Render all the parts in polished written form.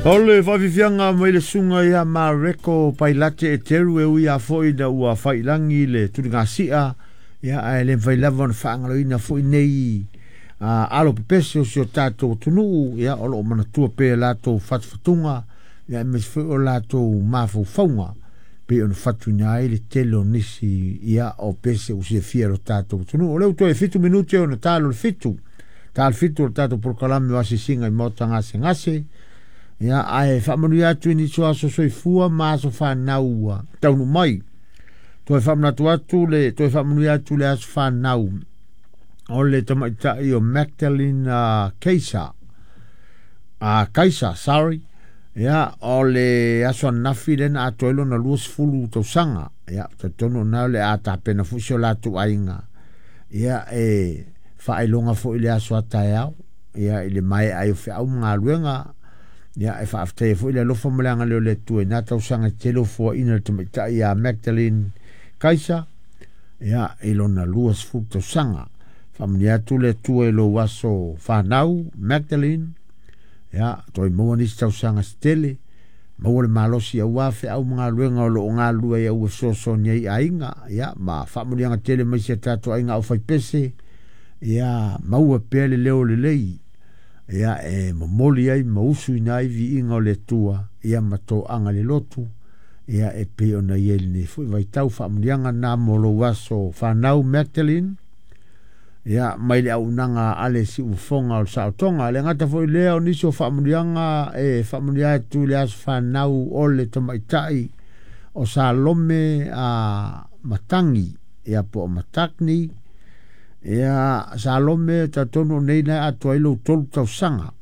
O le faafiafiaga mai le susuga ia Mareko Pailate Eteru e ui lava foi ina ua faiilagi le tuligasia, ia ae le mafai lava ona faagaloina foi nei alo pepese o si o tatou atunuu, ia o lo o manatua pea latou fatufatuga, ia aemaise foi o latou mafaufauga pei ona fatuina ai le tele o nisi ia o pese ua silafia e lo tatou atunuu. O lea ua toe 7 minute ona talo le 7, talo 7 o le tatou polokalame o asiasiga i maota gasegase. Ia, ae faamanuia atu i nisi o aso soifua ma aso fanau ua taunuu mai. Toe faamanatu atu le, toe faamanuia atu le aso fanau o le tamaitai o Magdalene Keisa. Kaisa, sorry. Ia, o le aso ananafi lea na atoa ai lona 20 tausaga. Ia, talitonu ona o le a tapena foi si o latou aiga. Ia, e faailoga foi le aso a taeao. Ia, i le maea ai o feau ma galuega. Ia, e faafetaia foi le alofa ma le agalelei o le Atua i na tausaga e tele o foaiina le tamaitai ia Magdalene Kaisa, ia, i lona 20 tausaga. Faamanuia atu le Atua i lou aso fanau, Magdalene, ia, toe maua nisi tausaga se tele, maua le malosi aua feau ma galuega o lo o galulue ai aua fesoasoani ai i aiga, ia, ma faamanuiaga tele mai si a tatou aiga aufaipese, ia, maua pea le leo lelei, ia, e momoli ai ma usuina ai viiga o le Atua, ia, ma toaga le lotu, ia, e pei ona i ai lenei foi vaitau. Faamanuiaga na mo lou aso fanau, Magdalene, ia, mai le auaunaga a le Siufofoga o le Saotoga. Le gata foi lea o nisi o faamanuiaga e faamanuia atu i le aso fanau o le tamaitai o Salome a Matangi, ia, po o Matakni. Ia, Salome, talitonu o nei na atoa ai lou 3 tausaga.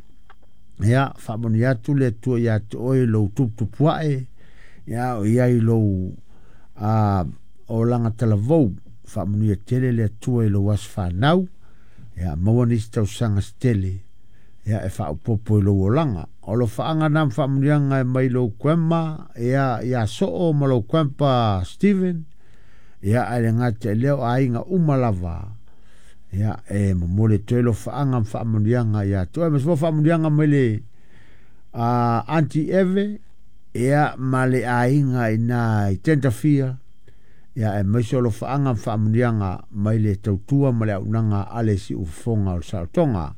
Ia, faamanuia atu le Atua ia te oe lou tuputupuae, ia, o iai lou olaga talavou. Faamanuia tele le Atua i lou aso fanau, ia, maua nisi tausaga se tele, ia, e faaopoopo i lou olaga. O alofaaga na ma faamanuiaga e mai lou grandma, ia, ia Soo ma lou grandpa Steven, ia, ae le gata i lea o aiga uma lava, ia, e momoli atu ai alofaaga ma faamanuiaga ia te oe. Ma se faamanuiaga mai le Auntie Eve, ia, ma le aiga ina i Tentafia, ia, aemaise o alofaaga ma faamanuiaga mai le tautua ma le auaunaga a le Siufofoga o le Saotoga.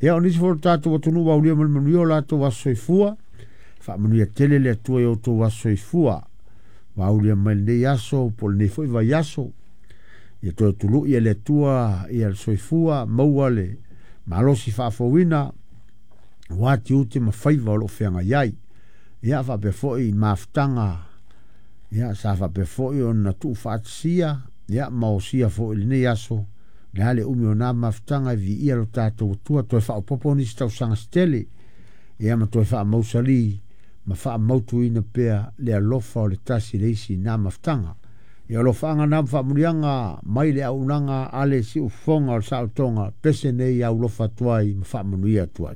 Ia, o nisi foi o tatou atunuu ua aulia ma le manuia o latou aso soifua, faamanuia tele le Atua i outou aso soifua ua aulia mai lenei aso po o lenei foi vaiaso. Ia toe tului e le Atua ia le soifua, maua le malosi faafouina aua tiute ma faiva o lo o feagai ai. Ia, faapea foi i mafutaga, ia, sa faapea foi ona tuufaatasia, ia, ma osia foi i lenei aso, le a le umi o nā mafutaga e viia lo tatou Atua, toe faaopoopo nisi tausaga se tele, ia, ma toe faamausali ma faamautuina pea le alofa o le tasi le isi i nā mafutaga. Ia, alofaaga na ma faamanuiaga mai le auaunaga a le Siufofoga o le Saotoga, pese nei aulofa atu ai ma faamanuia atu ai.